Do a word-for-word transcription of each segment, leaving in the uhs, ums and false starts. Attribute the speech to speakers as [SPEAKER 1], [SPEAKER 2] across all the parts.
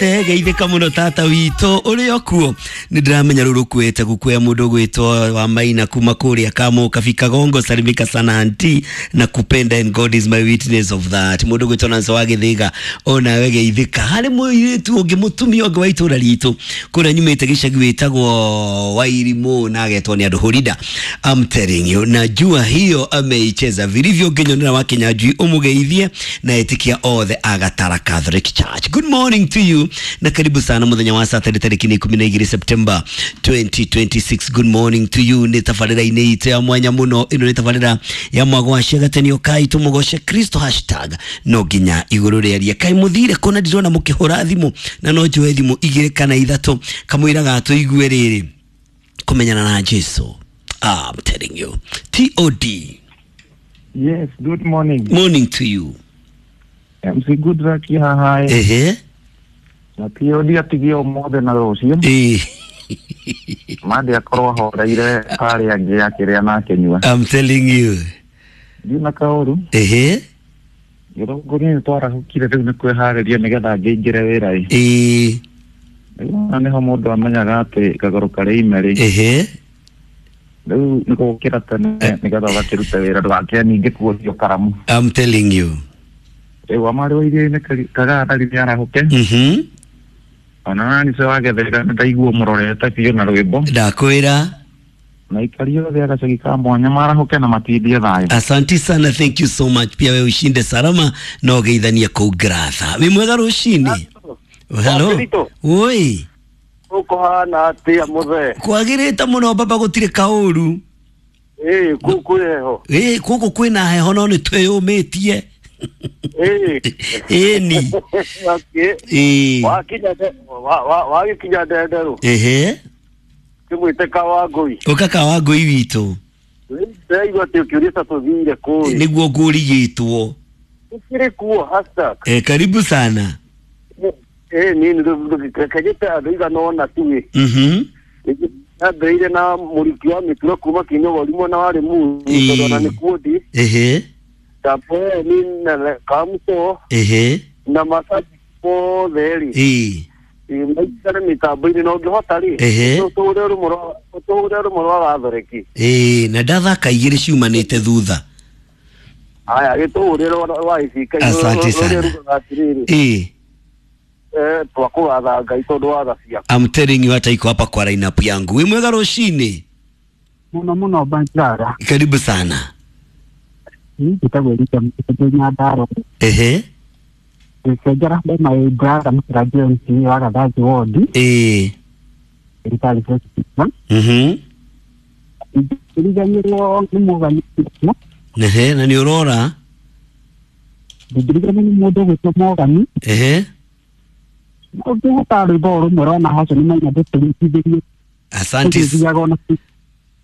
[SPEAKER 1] Geithĩka mũno tata witũ ũrĩ o kuo. Nĩ ndĩramenya rũrũ kwĩte gukuya mũndũ gwĩtwo wa Maina kuma kũrĩa Kamũ Kafika Gongo. Salimika sana auntie na kupenda and God is my witness of that. Mũndũ gwĩtwo Nancy wa Gĩthĩga, onawe geithĩka. Harĩ mũirĩtu ũngĩ, mũtumia ũngĩ wa itũra ritũ kũrĩa nyumĩte gĩcagi, wĩtagwo Wairimũ na agetwo nĩ andũ Horida. I'm telling you, najua hiyo ameicheza vilivyo. Nginyonera wa Kinyanjui ũmũgeithie na etikia othe a Gatara Catholic Church. Good morning to you na karibu sana muthenya wa Saturday tariki ni ikumi na igĩrĩ September twenty twenty-six. Good morning to you. Nĩ tabarĩra-inĩ itũ ya mwanya mũno. Ĩno nĩ tabarĩra ya mwagwacia gatenio kai tũmũgoce Kristo hashtag no nginya igũrũ rĩaria. Kai mũthire kũna? Ndirona mũkĩhũra thimũ na no njoe thimũ igĩrĩ kana ithatũ kamũira gatũigue rĩrĩ kũmenyana na Jesu. I'm telling you, T O D.
[SPEAKER 2] Yes, good morning.
[SPEAKER 1] Morning to you.
[SPEAKER 2] M C Goodluck haha.
[SPEAKER 1] Ehe.
[SPEAKER 2] Na T O D atigie ũmũthĩ na rũciũ.
[SPEAKER 1] Ĩĩ.
[SPEAKER 2] Mande akorwo ahoreire harĩa angĩ akĩrĩa na akĩnyua.
[SPEAKER 1] I'm telling you.
[SPEAKER 2] Ndina kaũru.
[SPEAKER 1] Ehe.
[SPEAKER 2] Gĩthũngũri nĩ twarahũkire, rĩu nĩ kwĩharĩria nĩgetha ngĩingĩre wĩra-ĩ.
[SPEAKER 1] Ĩĩ.
[SPEAKER 2] Rĩu na nĩho mũndũ amenyaga atĩ kagũrũ karĩ ime rĩ.
[SPEAKER 1] Ehe.
[SPEAKER 2] Rĩu nĩ gũkĩra tene nĩgetha ũgakĩrute wĩra ndũgakĩe ningĩ kuothio karamu.
[SPEAKER 1] I'm telling you.
[SPEAKER 2] Rĩu amarĩ wa iria-inĩ kagara nĩ arahũke.
[SPEAKER 1] Mhm.
[SPEAKER 2] Ona nani se wagethera nĩ ndaigua mũrorete biũ na rwĩmbo.
[SPEAKER 1] Ndakwĩra.
[SPEAKER 2] Na ikari othe agacagi ka mwanya marahũke na matindie thayũ.
[SPEAKER 1] Asanti sana, thank you so much. Pia wewe ushinde salama na ũgeithanie kũu Gratha. Wĩ mwega rũcinĩ? Hello.
[SPEAKER 3] Wakirito.
[SPEAKER 1] Oi.
[SPEAKER 3] Ũkũhana atĩa, mũthee?
[SPEAKER 1] Kwagĩrĩte mũno baba, gũtirĩ kaũru.
[SPEAKER 3] Ĩĩ, kũu kwĩ heho?
[SPEAKER 1] Ĩ, gũkũ kwĩna heho no nĩ twĩyũmĩtie.
[SPEAKER 3] Ĩĩ.
[SPEAKER 1] Ĩni.
[SPEAKER 3] Okay.
[SPEAKER 1] Ĩ.
[SPEAKER 3] Wakinya nde- wa- wa- wagĩkinya ndenderũ
[SPEAKER 1] Ehe.
[SPEAKER 3] kĩmwĩte Kawangũi.
[SPEAKER 1] Ũka Kawangũi witũ.
[SPEAKER 3] Ndĩraigua atĩ ũkĩũria ta tũthire kũĩ.
[SPEAKER 1] Nĩguo ngũrigĩtwo.
[SPEAKER 3] Tũkĩrĩ kuo hashtag.
[SPEAKER 1] Eh, karibu sana.
[SPEAKER 3] Ĩĩ, nini kanyĩte andũ igana ũna tuĩ.
[SPEAKER 1] Mhm.
[SPEAKER 3] Yambĩrĩire na mũriki wa mĩturo kuma Kĩnyogori mwena wa Rĩmuru
[SPEAKER 1] Ĩĩ.
[SPEAKER 3] tondũ ona nĩ kuo ndi.
[SPEAKER 1] Ehe.
[SPEAKER 3] Ndambeni na Kamũto
[SPEAKER 1] Ehe.
[SPEAKER 3] na macaji mothe rĩ.
[SPEAKER 1] Ĩ.
[SPEAKER 3] Maikare mĩtambo-inĩ na ũngĩhota rĩ,
[SPEAKER 1] Ehe.
[SPEAKER 3] ũtũhũre rũmwe rwa- ũtũhũre rũmwe rwa gathoreki.
[SPEAKER 1] Ĩ, na ndathaka igĩrĩ ciumanĩte thutha.
[SPEAKER 3] Aya, gĩtũhũre rwa rwa ibika.
[SPEAKER 1] Asante sana.
[SPEAKER 3] Rugaga atĩrĩrĩ,
[SPEAKER 1] Ĩ.
[SPEAKER 3] eh, twakũgatha Ngai tondũ wa tha ciaku.
[SPEAKER 1] I'm telling you, hata iko hapa kwa lineup yangu. Wĩ mwega rũcinĩ?
[SPEAKER 4] Muno muno, Banjara.
[SPEAKER 1] Karibu sana.
[SPEAKER 4] Njĩtagwo Elija Mũtĩ Nyandarua.
[SPEAKER 1] Ehe.
[SPEAKER 4] Gĩcenjera ndĩ my brother Mũkĩra James wa Gathanji ward.
[SPEAKER 1] Ĩ.
[SPEAKER 4] Thirikari.
[SPEAKER 1] Mhm.
[SPEAKER 4] Ndingĩriganĩrwo nĩ Mũgani.
[SPEAKER 1] Ehe, na nĩ ũrora?
[SPEAKER 4] Ndingĩriganĩrwo nĩ mũndũ ũgwĩtwo Mogani.
[SPEAKER 1] Ehe.
[SPEAKER 4] Ũngĩhota rwĩmbo rũmwe rwa Nahoco nĩ maina ndũtũringithĩrie.
[SPEAKER 1] Asante.
[SPEAKER 4] Tũgĩthiaga ona.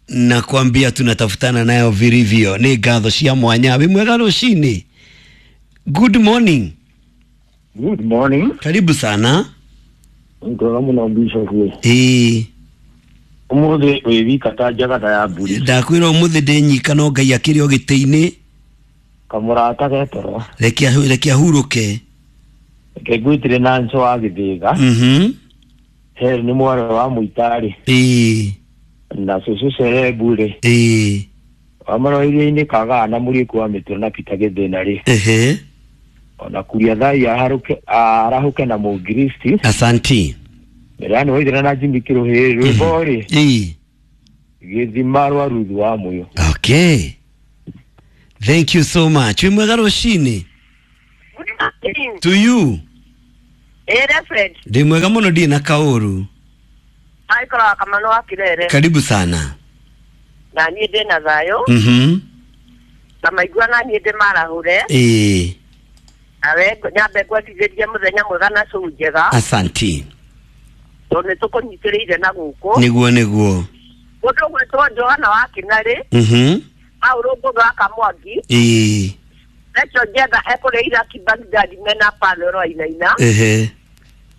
[SPEAKER 1] Nakwambia tunatafutana nayo vilivyo. Nĩ ngatho cia mwanya. Wĩ mwega rũcinĩ? Good morning.
[SPEAKER 2] Good morning.
[SPEAKER 1] Karibu sana.
[SPEAKER 2] Ngora mũno, Bishop.
[SPEAKER 1] Ĩ.
[SPEAKER 2] Ũmũthĩ wĩ wika ta njagata ya mbũri.
[SPEAKER 1] Ndakwĩra ũmũthĩ ndĩ nyika no Ngai akĩrĩ o gĩtĩ-inĩ.
[SPEAKER 2] Kamũrata getoro.
[SPEAKER 1] Reke ahu- reke ahurũke.
[SPEAKER 2] Reke ngwĩtĩre na nco wa Gĩthĩga.
[SPEAKER 1] Mhm.
[SPEAKER 2] He nĩ mwarĩ wa Mũitarĩ.
[SPEAKER 1] Ĩ.
[SPEAKER 2] Na cũcũ Cerebu rĩ.
[SPEAKER 1] Ĩ.
[SPEAKER 2] Wa iria-inĩ kagaa na mũriku wa mĩturo na Peter Gĩthĩna rĩ.
[SPEAKER 1] Ehe.
[SPEAKER 2] Ona kuria thai aharũke arahũke na mũngiristi.
[SPEAKER 1] Asanti.
[SPEAKER 2] Mbere waithĩra na Jimmy Kĩrũhĩ rwĩmbo rĩ.
[SPEAKER 1] Ĩ.
[SPEAKER 2] Gĩthima rwa Ruthu wa Mũyũ.
[SPEAKER 1] Okay, thank you so much. Wĩ mwega rũcinĩ?
[SPEAKER 5] Good morning.
[SPEAKER 1] To you.
[SPEAKER 5] Eh, Reverend.
[SPEAKER 1] Ndĩ mwega mũno, ndirĩ na kaũru.
[SPEAKER 5] Aikara Kamano wa Kirere.
[SPEAKER 1] Karibu sana.
[SPEAKER 5] Na niĩ ndĩ na thayũ.
[SPEAKER 1] Mhm.
[SPEAKER 5] Na maigua na niĩ ndĩ marahũre.
[SPEAKER 1] Ĩ.
[SPEAKER 5] Nawe nyambe ngwendithĩrie mũthenya mwega na cũu njega.
[SPEAKER 1] Asanti.
[SPEAKER 5] Tondũ nĩ tũkũnyitĩrĩire na gũkũ.
[SPEAKER 1] Nĩguo, nĩguo.
[SPEAKER 5] Mũndũ ũgwĩtwo Johana wa Kĩnarĩ.
[SPEAKER 1] Mhm.
[SPEAKER 5] Aũrũngũgũ wa Kamwangi.
[SPEAKER 1] Ĩ.
[SPEAKER 5] Recho Njenga ekũrĩa Iraki Baghdad mena Pano Wainaina.
[SPEAKER 1] Ehe.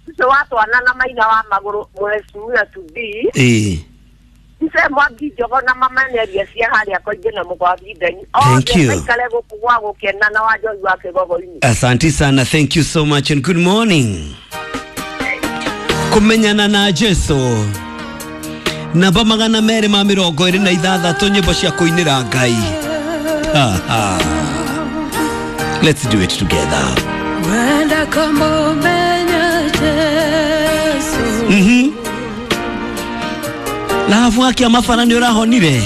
[SPEAKER 5] Ũcio wa twana na maina wa magũrũ Mheshimiwa to be.
[SPEAKER 1] Ĩ.
[SPEAKER 5] Ice Mwangi Njogo na mama Neria cia harĩa Koingĩ na Mũgwathi Ndeni.
[SPEAKER 1] Thank
[SPEAKER 5] Othe
[SPEAKER 1] you.
[SPEAKER 5] maikare gũkũ gwa gũkena na wa Njohi wa Kĩgogo-inĩ.
[SPEAKER 1] Asante sana, thank you so much and good morning. Kumenyana na Jesu. Namba magana merĩ ma mĩrongo ĩrĩ na ithathatũ, nyĩmbo cia kũinĩra Ngai. Ha, ha. Let's do it together.
[SPEAKER 6] Wenda kumumenya Jesu.
[SPEAKER 1] Mhm. Lahabu akia mabara nĩ ũrahonire.